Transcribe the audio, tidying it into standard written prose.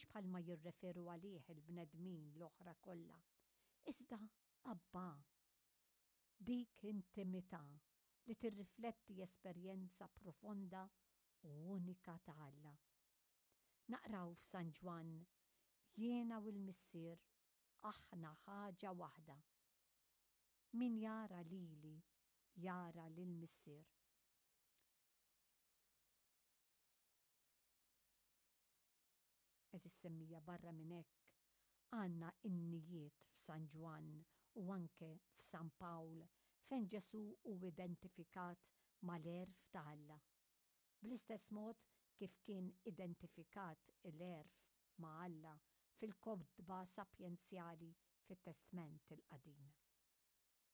Mhux bħalma jirreferu għalih il-bnedmin l-oħra kollha, iżda Abbà. Dik intimità li tirrifletti esperjenza profonda u unika ta' Alla. Naqraw f'San Ġwann, Jiena u l-Missier aħna ħaġa waħda. Min jara lili jara lill-Missier. Għeżież semmija barra minn hekk għandna innijiet f'San Ġwann u anke f'San Pawl fejn Ġesù hu identifikat mal-għerf ta' Alla. Bl-istess mod kif kien identifikat il-għerf ma' Alla fil-kotba sapjenzjali fit-Testment il-Qadim.